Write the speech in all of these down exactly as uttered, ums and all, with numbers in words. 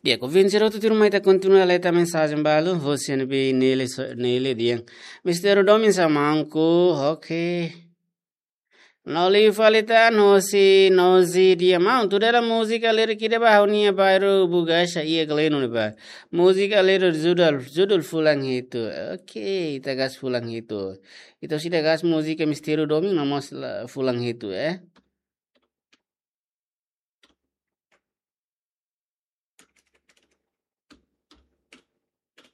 Ya, ko vin sira tuturma ita kontinua leta mensajen balu, hosi ne'ebé Nele so-, Nele dehan. Mister Domin sa manku, oke. No liu fali tan, hosi Nozi dehan maun, tuda hela múzika lirik ida ba ha'u-nia bairru Bugaxa iha Gleno ne'ebá. Múzika lirik judul, judul Fulan Hitu. Oke, ita gas Fulan Hitu. Ita sei ida gas múzika Mister Domin no mós la-, Fulan Hitu, eh.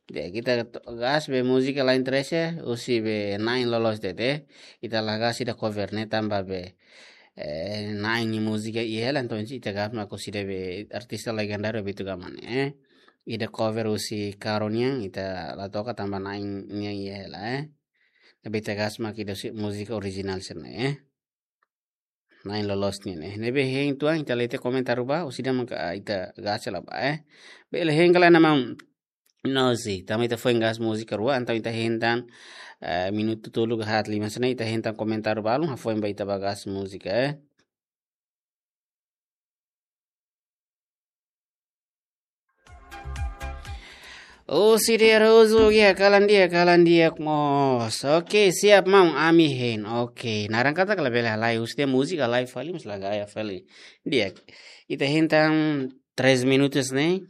Di'ak, ita to-, gas be múzika Lain Trese, husi be Nain Loloos de'it. Ita la gas ida cover ne'e tanba be, eh, Nain nia múzika iha hela, entaun ita gas mak husi ida be artista legendáriu Beto Gama ne'e, eh. Ida cover husi Karo nian, ita la toka tanba Nain nian iha hela, eh. Ne'ebé ita gas mak ida husi múzika orijinál sira-ne'e, eh. Nain Loloos nian, eh. Ne'ebé hein tuan, ita lee tiha komentáriu ba, husi ida maka ita gas hela ba, eh. Bele hein kala nama Nozi, tanba ita foin gas múzika rua, entaun ita hein tan, eh, minutu tolu ka haat lima hanesan ne'e, ita hein tan komentáriu balun, hafoin ba ita ba gas múzika, eh. Husi Dea Rosu, ya, kalan di'ak, kalan di'ak mós. Oke, siap maun, ami hein. Oke, naran katak labele halai, husi ida múzika halai fali, mas la gaya fali. Di'ak, ita hein tan três minutos ne'e.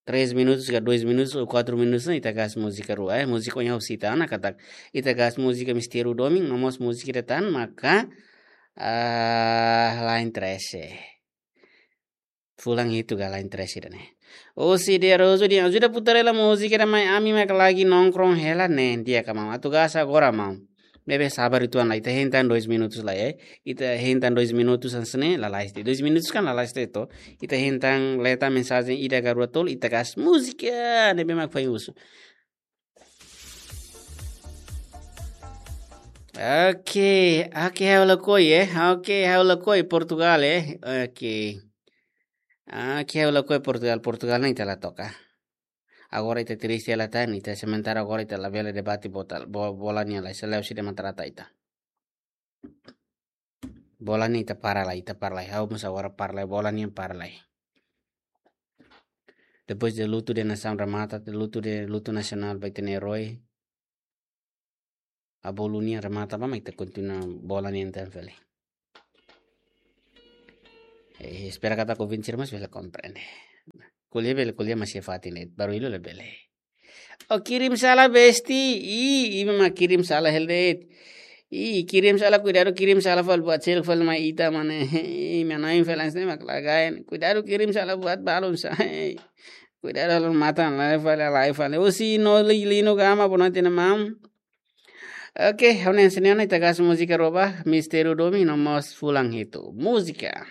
Três minutos ka dois minutos ou quatro minutos ne'e, ita gas múzika rua, eh. Múzika ohin ha'u sita ona katak ita gas múzika Mister Domin, no mós múzika ida tan maka, ah, Lain Trese. Fulan Hitu ka Lain Trese ida-ne'e. Husi Dea Rosu dehan, ajuda putar hela múzika ida mai, ami mak lagi nongkrong hela ne'e, di'ak ka maun. Atu gas agora maun. Ne'ebé sabar uitoan lai, ita hein tan dois minutos lai, eh. Ita hein tan dois minutos hanesan ne'e, lalais de'it. Dois minutos kan lalais de'it to. Ita hein tan leta mensajen ida ka rua tolu, ita gas múzika ne'ebé mak foin husu. Oke, oke, ha'u lakohi, eh. Oke, ha'u lakohi Portugal, eh. Oke. Oke, ha'u lakohi Portugal, Portugal ne'e ita la toka. Agora ita triste hela tan, ita sementara agora ita labele debate bota-, bo-, bola nian lai, selae husi ida mak trata ita. Bola ne'e ita para lai, ita para lai. Ha'u mós agora para lai, bola ne'e para lai. Depois de lutu de nasaun remata, lutu de, lutu nasionál ba ita-nia eroi. Abolu nian remata ba, mak ita kontinua bola nian tan fali. Eh, espera katak ouvinte sira mós bele komprende. Ko'alia bele, ko'alia maski fatin de'it, baruilu labele. Oh, kirim salah besti. Ih, imi mak kirim salah hela de'it. Ih, kirim salah, kuidadu kirim salah fali buat seluk fali mai ita mane. Ih, mana influence ne'e mak la gaya. Kuidadu kirim salah buat balun sa. Kuidadu halo matan lai fali, lai fali. Husi Noli Lino Gama, boa noite, maun. Oke, ha'u-nia hanesan ne'e ona, ita gas múzika rua ba, Mister Domin no mós Fulan Hitu. Múzika.